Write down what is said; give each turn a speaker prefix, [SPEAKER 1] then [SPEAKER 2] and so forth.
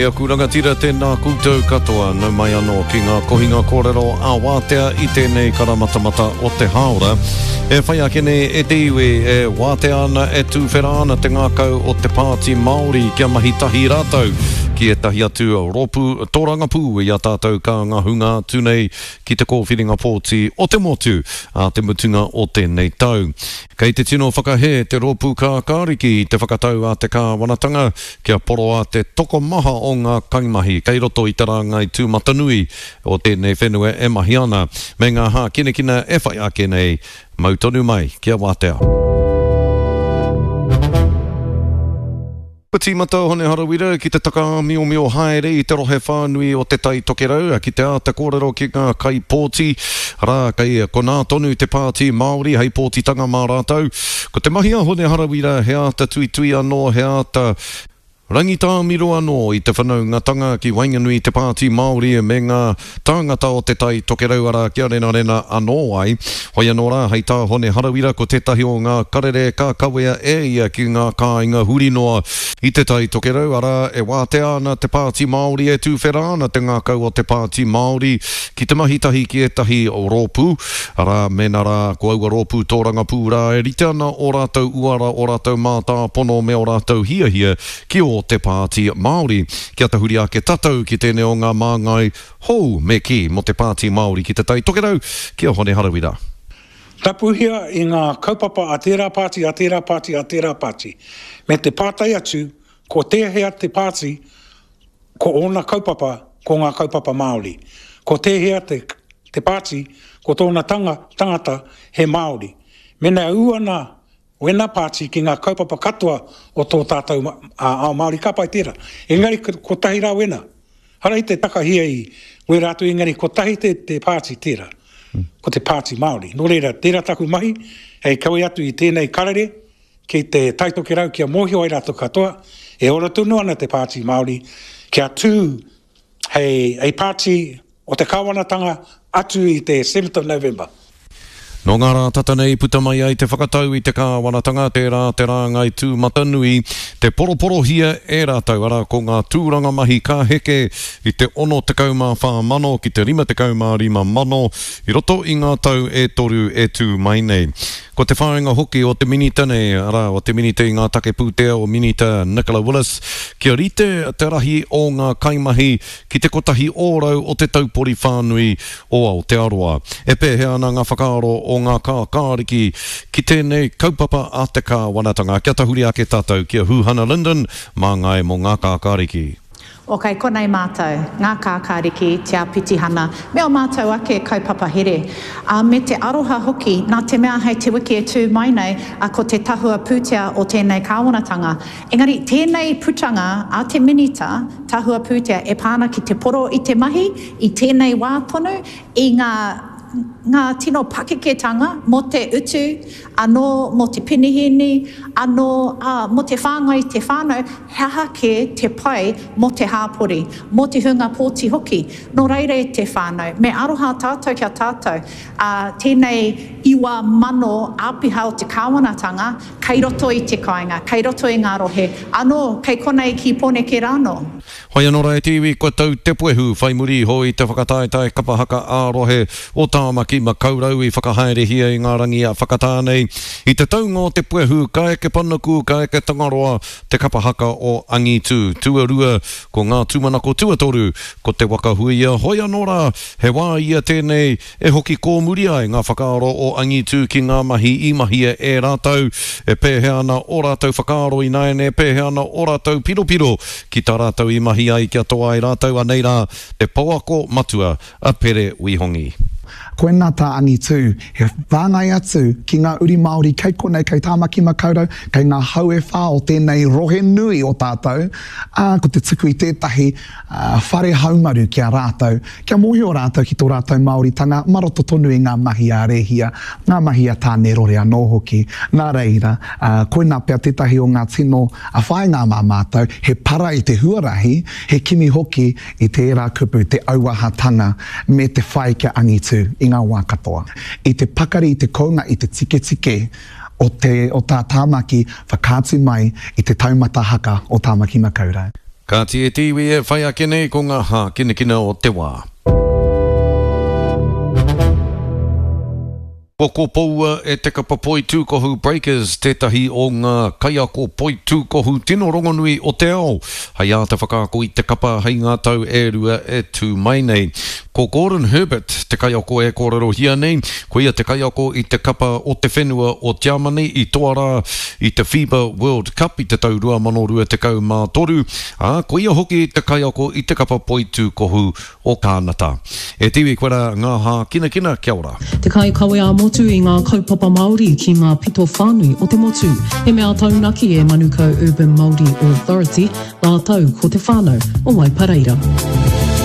[SPEAKER 1] aku rangatira, tēnā koutou katoa, nau mai anō ki ngā kohinga kōrero ā-wātea i tēnei karamatamata o te hāora. E whai ake nei e te iwi, e wātea ana, e tūwhera ana te ngākau o te Pāti Māori kia mahi tahi rātou ki ētahi atu rōpū tōrangapū i a tātou ka ngahunga atu nei ki te kōwhiringa pōti o te motu ā te mutunga o tēnei tau. Kei te tino whakahē te Rōpū Kākāriki i te whakatau a te kāwanatanga kia poroa te tokomaha o ngā kaimahi kei roto i te rāngai tūmatanui o tēnei whenua e mahi ana, me ngā hākinakina e whai ake nei. Mau tonu mai, kia wātea. Kua tīmata a Hone Harawira ki te takaāmiomio haere i te rohe whānui o Te Tai Tokerau ki te āta kōrero ki ngā kaipōti, arā, kei konā tonu te Pāti Māori hei pōtitanga mā rātou. Ko te mahi a Hone Harawira he āta tuitui anō, he āta rangitāmiro anō i te whanaungatanga ki waenganui i te Pāti Māori me ngā tāngata o Te Tai Tokerau arā kia renarena anō ai. Hoi anō rā, hei tā Hone Harawira ko tētahi o ngā karere ka kawea e ia ki ngā kāinga huri noa i Te Tai Tokerau arā e wātea ana te Pāti Māori e tūwhera ana te ngākau o te Pāti Māori ki te mahi tahi ki ētahi rōpū arā mēnā rā ko aua rōpū tōrangapū rā e rite ana ō rātou uara, ō rātou mātāpono me ō rātou hiahia ki ō te Pāti Māori. Kia tahuri ake tatou ki tēnei o ngā māngai hou me kī mō te Pāti Māori ki Te Tai Tokerau, ki a Hone Harawira.
[SPEAKER 2] Tapuhia i ngā kaupapa a tērā pāti, a tērā pāti, a tērā pāti, me te pātai atu ko tēhea te pāti ko ōna kaupapa ko ngā kaupapa Māori, ko tēhea te te pāti ko tōna tanga, tangata he Māori. Mēnā e ū ana Wena pāti ki ngā kaupapa katoa o tō tātou ao Māori, ka pai tērā. Engari kotahi rā wena. Hara i te takahia i wera atu engari kotahi te, te pāti tērā. Ko te pāti Māori. Nō reira, tērā taku mahi hei kawe atu i tēnei karere ki te Taitokerau kia mōhio ai rātou katoa, e ora tonu ana te pāti Māori kia tū hei, hei pāti o te kāwanatanga atu i te seventh of November.
[SPEAKER 1] Nō ngā rā tata nei puta mai ai te whakatau i te kāwanatanga, tērā te rāngai tūmatanui, te poroporohia e rātou, arā, ko ngā tūranga mahi ka heke i te 64 mano ki te 55 mano i roto i ngā tau e toru e tū mai nei. Ko te whāinga hoki o te Minita nei, arā, o te Minita i ngā take pūtea o Minita Nicola Willis, kia rite te rahi o ngā kaimahi ki te 1% o te taupori whānui o Aotearoa. E pēhea ana ngā whakaaro o ngā kākāriki ki tēnei kaupapa a te kāwanatanga? Kia tahuri ake tātou ki a Huhana Lyndon, māngai mō ngā kākāriki.
[SPEAKER 3] O kei konei mātou, ngā kākāriki, te āpitihana, me ō mātou ake kaupapa here. Ā, me te aroha hoki, nā te mea hei te wiki e tū mai nei, ā, ko te tahua pūtea o tēnei kāwanatanga. Engari, tēnei putanga a te Minita Tahua Pūtea e pā ana ki te poro i te mahi, i tēnei wā tonu, i ngā, ngā tino pakeketanga mō te utu, anō mō te penihīni, anō, ā, mō te whāngai i te whānau, he aha kē te pai mō te hāpori, mō te hunga pōti hoki. Nō reira e te whānau, me aroha tātou ki a tātou, ā, tēnei 9,000 āpiha o te kāwanatanga kei roto i te kāinga, kei roto i ngā rohe, anō, kei konei ki Pōneke rānō.
[SPEAKER 1] Whai anō rā e te iwi kua tau te puehu whai muri iho i te whakataetae kapa haka ā-rohe o Tāmaki Makaurau i whakahaerehia i ngā rangi a Whakatāne. I te taunga o te puehu ka eke panuku, ka eke Tangaroa te kapa haka o Angitū. Tuarua, ko ngā tūmanako tuatoru, ko Te Waka Huia. Hoi anō rā, he wā ia tēnei E hoki kōmuri ai ngā whakaaro o Angitū ki ngā mahi i mahia e rātou, e pēhea ana ō rātou whakaaro ināiane, e pēhea ana ō rātou piropiro ki tā rātou i mahi ai kia toa ai rātou, anei rā te pouako matua a Pere Wihongi.
[SPEAKER 4] Koinā tā Angitū, he whāngai atu ki ngā uri Māori kei konei, kei Tāmaki Makaurau, kei ngā hau e whā o tēnei rohe nui o tātou, ā, ko te tuku i tētahi whare haumaru ki a rātou, Kia mōhio rātou ki tō rātou Māoritanga mā roto tonu i ngā mahi a Rēhia, ngā mahi a Tānerore anō hoki. Nā reira, koinā pea tētahi o ngā tino whāinga mā mātou, he para i te huarahi, he kimi hoki i tērā kupu, te auahatanga me te whai kia angitu i ngā wā katoa. I te pakari, i te kounga, i te tiketike o te, o tā Tāmaki whakaatu mai i te taumata haka o Tāmaki Makaurau.
[SPEAKER 1] Kāti e te iwi e whai ake nei ko ngā hākinakina o te wā. Kua kopoua e te kapa poitūkohu Breakers tētahi o ngā kaiako poitūkohu tino rongonui o te ao hei āta whakaako i te kapa hei ngā tau e rua e tū mai nei. Ko Gordon Herbert te kaiako e kōrerohia nei, koia te kaiako i te kapa o te whenua o Tiamani i toa rā i te FIBA World Cup i te tau 2023, ā, koia hoki te kaiako i te kapa poitūkohu o Kānata. E te iwi koe rā ngā hākinakina, kia ora.
[SPEAKER 5] Te kaikawe ā-motu i ngā kaupapa Māori ki ngā pito whānui o te motu. He mea taunaki e Manukau Urban Māori Authority rātou ko te whānau o Waipareira.